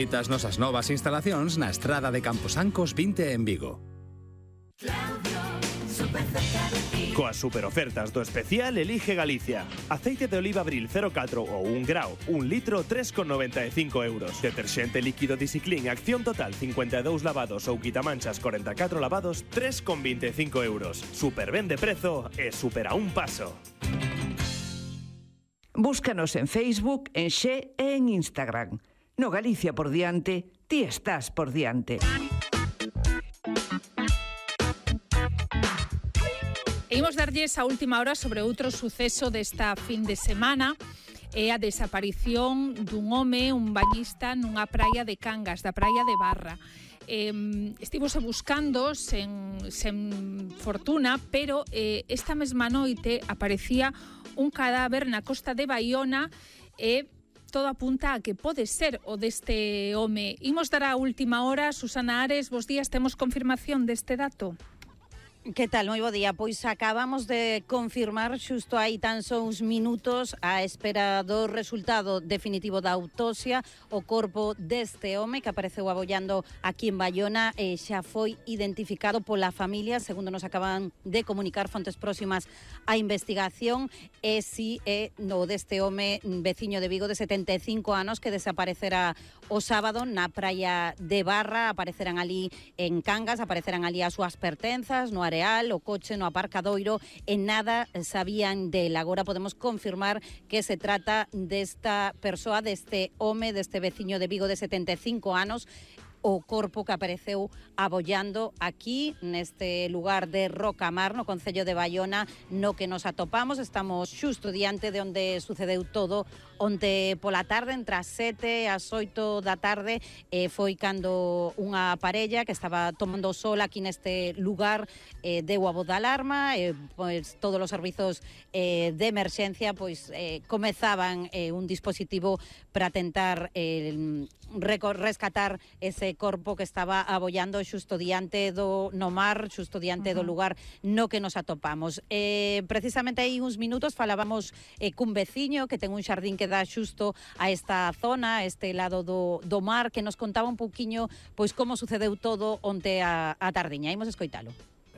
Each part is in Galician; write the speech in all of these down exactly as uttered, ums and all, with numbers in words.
As nosas novas instalacións na estrada de Camposancos vinte en Vigo. Coas superofertas do especial elige Galicia. Aceite de oliva Abril cero catro ou un grao, un litro tres con noventa e cinco euros. Deterxente líquido Disciclin Acción Total cincuenta e dous lavados ou quitamanchas corenta e catro lavados tres con vinte e cinco euros. Super ben de prezo e super a un paso. Búscanos en Facebook, en Xe e en Instagram. No Galicia por diante, ti estás por diante. E imos darlles a última hora sobre outro suceso desta fin de semana. É a desaparición dun home, un bañista, nunha praia de Cangas, da praia de Barra. Eh, estivose buscando sen, sen fortuna, pero eh, esta mesma noite aparecía un cadáver na costa de Baiona e todo apunta a que pode ser o deste home. Imos dar a última hora. Susana Ares, bos días, temos confirmación deste dato? Que tal? Moi bo día. Pois acabamos de confirmar xusto hai tan só uns minutos a espera do resultado definitivo da autopsia o corpo deste home que apareceu abollando aquí en Baiona e xa foi identificado pola familia, segundo nos acaban de comunicar fontes próximas á investigación, e si é no deste home veciño de Vigo de setenta e cinco anos que desaparecera o sábado na praia de Barra. Aparecerán ali en Cangas, aparecerán ali as súas pertenzas, no areal, o coche no aparcadoiro, e nada sabían del. Agora podemos confirmar que se trata desta persoa, deste home, deste veciño de Vigo de setenta e cinco anos, o corpo que apareceu abollando aquí neste lugar de Rocamar, no concello de Baiona, no que nos atopamos. Estamos xusto diante de onde sucedeu todo onte pola tarde, entre as sete e as oito da tarde. eh, foi cando unha parella que estaba tomando sol aquí neste lugar eh, deu a voz de alarma, e eh, pois todos os servizos eh, de emerxencia pois eh, comezaban eh, un dispositivo para tentar eh, rescatar ese corpo que estaba abollando xusto diante do no mar, xusto diante uh -huh. do lugar no que nos atopamos. Eh, precisamente aí uns minutos falábamos eh, cun veciño que ten un xardín que dá xusto a esta zona, a este lado do, do mar, que nos contaba un pouquiño pois como sucedeu todo onte a, a tardiña. Imos escoitalo.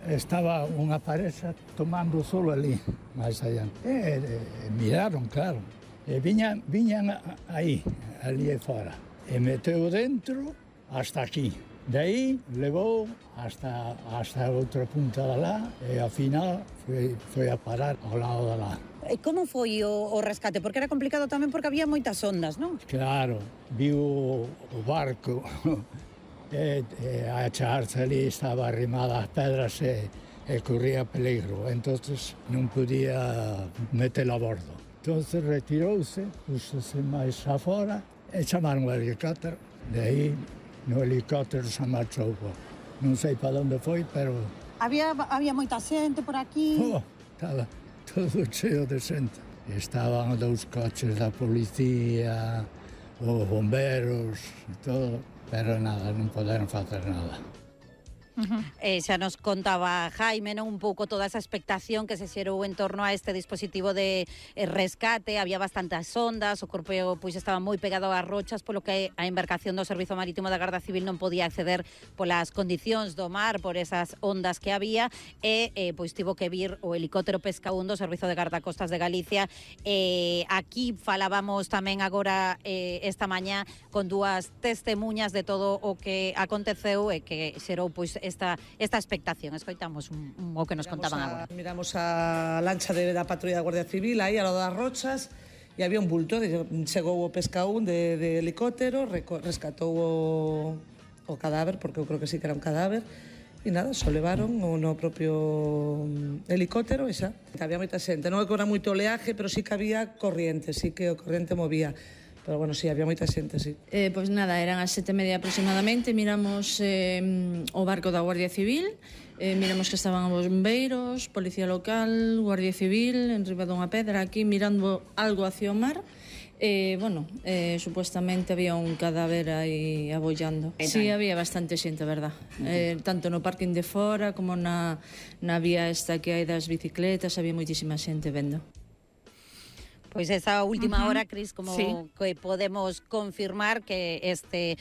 Estaba unha pareja tomando solo ali, máis allá. E, e, miraron, claro. E viñan, viñan aí, ali fora. E meteu dentro hasta aquí. De aí levou hasta, hasta outra punta de lá e ao final foi, foi a parar ao lado de lá. E como foi o, o rescate? Porque era complicado tamén porque había moitas ondas, non? Claro, viu o barco e, e a charza ali estaba arrimada ás pedras e, e corría peligro, entonces non podía metelo a bordo. Entonces retirouse, púxose máis afora e chamaron o helicóptero. De aí, no helicóptero se marchou. Non sei para onde foi, pero... Había, había moita xente por aquí... Oh, estaba todo cheo de xente. Estaban dous coches da policía, os bomberos, e todo, pero nada, non poderon facer nada. Uh-huh. Eh, xa nos contaba Jaime, non, un pouco toda esa expectación que se xerou en torno a este dispositivo de eh, rescate. Había bastantes ondas, o corpo pois estaba moi pegado ás rochas, polo que a embarcación do Servizo Marítimo da Garda Civil non podía acceder polas condicións do mar, por esas ondas que había, e eh, pois tivo que vir o helicóptero Pesca un do Servizo de Gardacostas de Galicia. Eh, aquí falábamos tamén agora eh, esta mañá con dúas testemuñas de todo o que aconteceu e que xerou pois esta, esta expectación. Escoitamos un, un, o que nos miramos contaban a, agora. Miramos a lancha de, da patrulla da Guardia Civil aí ao lado das rochas e había un bulto. Chegou o Pesca un de, de helicóptero, reco, rescatou o, o cadáver, porque eu creo que sí que era un cadáver, e nada, só levaron no propio helicóptero e xa. Había moita xente, non é que era moito oleaje, pero sí que había corriente, sí que o corriente movía. Pero bueno, sí, había moita xente, sí. Eh, pois nada, eran as sete e media aproximadamente, miramos eh, o barco da Guardia Civil, eh, miramos que estaban os bombeiros, policía local, Guardia Civil, en riba dunha pedra, aquí mirando algo hacia o mar. Eh, bueno, eh, supuestamente había un cadáver aí abollando. Sí, había bastante xente, verdad. Eh, tanto no parking de fora como na, na vía esta que hai das bicicletas, había moitísima xente vendo. Pois esa última Ujú. hora, Cris, como Sí. que podemos confirmar que este